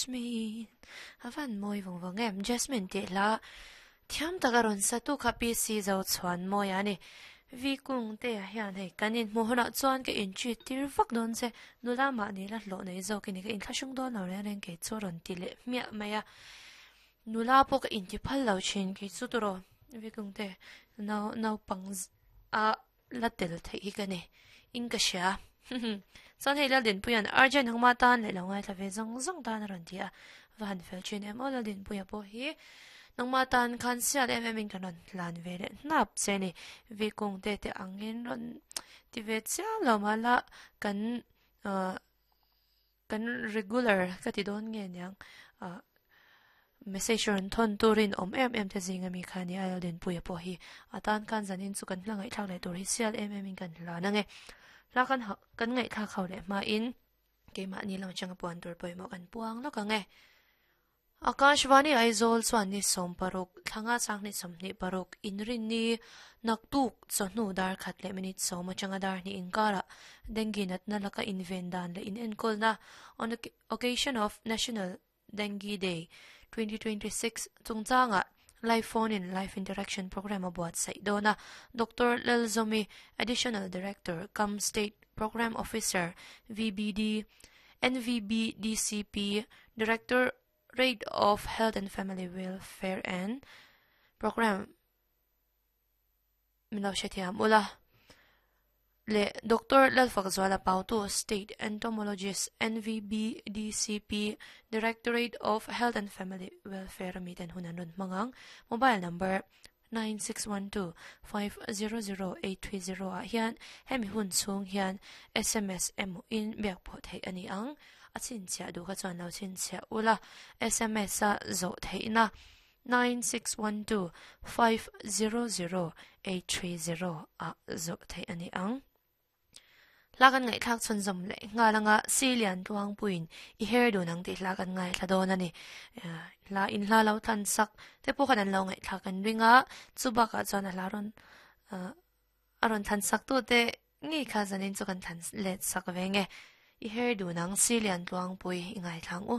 Jasmine a van mawi vawng vawng em Jasmine tih hla thiam tak a rawn sa tu kha PC zo chhuan mawi a ni V kung te ah hian hei kan inhmuh hunah chuan ka in treat tir vak dawn che nula mahni la hlawh nei zawk i ni ka inthlahrung dawn lo reng reng kei chu a rawn ti leh hmiah mai a nula pawh ka inti phal lo thin kei chu tawh V kung te nau naupang a la tel theih hi ka ni in ka hria chuan hei Laldinpuia'n Arjun hangma tan leh lo ngaithla ve zawng zawng tan a rawn ti a va han fel thin em aw Laldinpuia pawh hi nangma tan khan sial em em in kan rawn hlan ve leh hnap che ni Vikung te te angin rawn ti ve chiam lo mahla kan ah Kan regular ka ti dawn nge niang ah message rawn thawn turin awm em em te zing ami kha nia Laldinpuia pawh hi a tan khan zanin chu kan hla ngaihthlak leh tur hi sial em em in kan hlan ange hla kan kan ngaihthlak ho leh hmain keimahni lam atanga puan tur pawimawh kan puang lawk ange. Akashvani Aizawl chuan ni 60 thlanga sanghnih 26 inrinni naktuk chawhnu dar khat leh minute sawm atanga dar hnih inkarah dengue natna laka inven dan leh inenkawlna on the occasion of National Dengue Day 2026 chungchangah live phone in live interaction programme a buatsaih dawn a. Doctor Lalzawmi, Additional Director cum State Programme Officer, VBD, NVBDCP, Director Rate of Health and Family Welfare and Programme min lo hrethiam ula leh Doctor Lalfakzuala Pautu, State Entomologist, NVBDCP, Directorate of Health and Family Welfare ami ten hun an rawn hmang ang. Mobile number 9612 500 830 ah hian hemi hun chhung hian sms emaw in biak pawh theih a ni ang. A chhinchhiah duh kha chuan lo chhinchhiah ula, sms a zawh theihna 9612 500 830 ah zawh theih a ni ang. Hla kan ngaihthlak chhunzawm leh nghal anga Silian Tluangpuiin i her dun ang tih hla kan ngaithla dawn a ni. Hla in hla lo thlan sak te pawh khan an lo ngaihthlak an ring a, chu bakah chuan a hla rawn a rawn thlan sak tu te ngei kha zanin chu kan thlan let sak ve nge. I her dun ang Silian Tluangpui i ngaithla ang u.